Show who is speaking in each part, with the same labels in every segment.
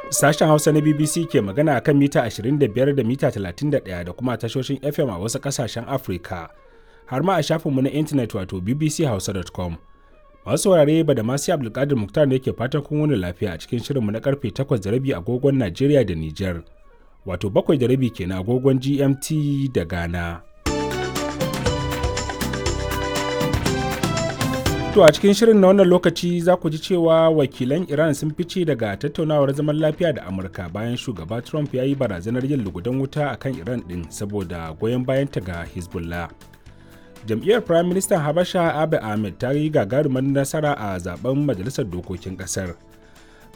Speaker 1: Sashen Hausa na BBC ke magana akan mita 25 da mita 31 da kuma tashoshin FM a wasu ƙasashen Afirka, har ma a shafinmu na intanet wato bbchausa.com. Masu saurare ba da masu Abdulkadir Muktar ne ke fatan kun wani lafiya a cikin shirinmu na karfe 8:30 agogon Najeriya da Nijar, wato 7:30 kenan agogon GMT da Ghana. To a cikin shirin na wannan lokaci za ku ji cewa wakilan Iran sun fice daga tattaunawar zaman lafiya da Amurka bayan shugaba Trump ya yi barazanar yin lugudan wuta a kan Iran ɗin saboda goyon bayanta ga Hezbollah. Jam'iyyar Prime Minister Habasha Abiy Ahmed ta yi gagarumar nasara a zaben Majalisar Dokokin Ƙasar.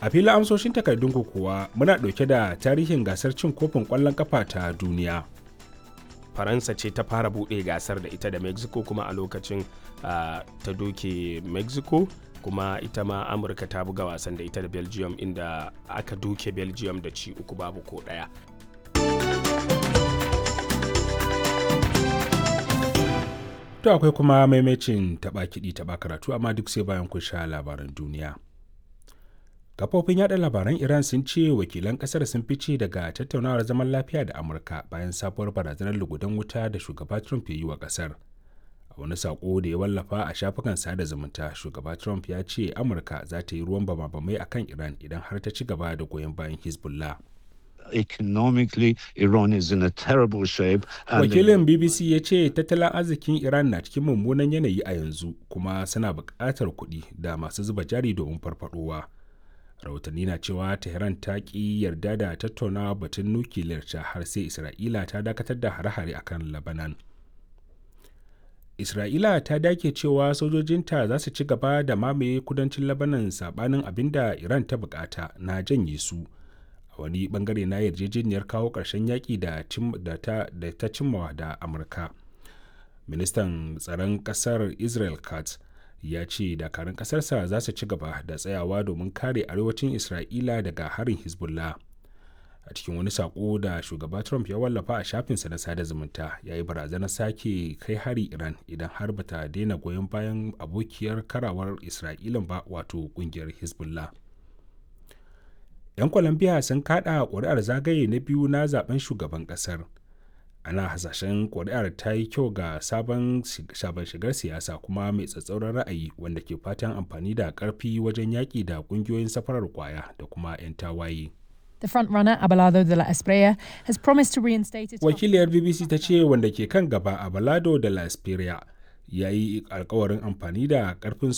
Speaker 1: A filin amsoshin takardun kuwa muna ɗauke da tarihin gasar cin kofin ƙwallon ƙafa ta duniya.
Speaker 2: Faransa ce ta fara buɗe gasar da ita da Mexico, kuma a lokacin ta doke Mexico. Kuma ita ma Amurka ta buga wasan da ita da Belgium, inda aka doke Belgium da ci 3 babu ko 1.
Speaker 1: To akwai kuma maimacin taɓa kiɗi taɓa karatu, amma duk sai bayan kun sha labaran duniya. Kafofin yada labaran Iran sun ce wakilan kasar sun fice daga tattaunawar zaman lafiya da Amurka bayan sabuwar barazanar lugudan wuta da shugaba Trump ya yi wa kasar. A wani sako da ya wallafa a shafukan sada zumunta, shugaba Trump ya ce Amurka za ta yi ruwan bama-bamai a kan Iran idan har ta ci gaba da goyon bayan Hezbollah.
Speaker 3: Economically, Iran is in a terrible shape.
Speaker 1: Wakilin BBC ya ce tattalin arzikin Iran na cikin mummunan yanayi a yanzu, kuma suna buƙatar kuɗi da masu zuba jari domin farfadowa. Rahotanni na cewa Tehran ta ki yarda da tattaunawa batun nukiliyar ta har sai Isra'ila ta dakatar da hare-hare akan Labanan. Isra'ila ta dake cewa sojojinta za su ci gaba da mamaye kudancin Labanan, sabanin abin da Iran ta bukata na janye su a wani bangare na yarjejeniyar kawo ƙarshen yaƙi da ta cimmawa da Amurka. Ministan tsaron ƙasar Israel Katz ya ce dakarun ƙasarsa za su ci gaba da tsayawa domin kare arewacin Isra'ila daga harin Hezbollah. A cikin wani sako da shugaba Trump ya wallafa a shafinsa na sada zumunta, ya yi barazanar sake kai hari Iran idan har bata daina goyon bayan abokiyar karawar Isra'ilan ba, wato kungiyar Hezbollah. 'Yan Colombia sun kada ƙuri'ar zagaye na biyu na zaben shugaban ƙasar. Ana hasashen kuri'ar ta yi kyau ga sabon shigar siyasa kuma mai tsatsauran ra'ayi wanda ke fatan amfani da karfi wajen yaƙi da ƙungiyoyin safarar kwaya da kuma 'yan tawaye.
Speaker 4: The frontrunner Abelardo de la Espriella has promised to reinstate its
Speaker 1: Wakiliyar BBC ta ce wanda ke kan gaba, Abelardo de la Espriella, ya yi alkawarin amfani da karfin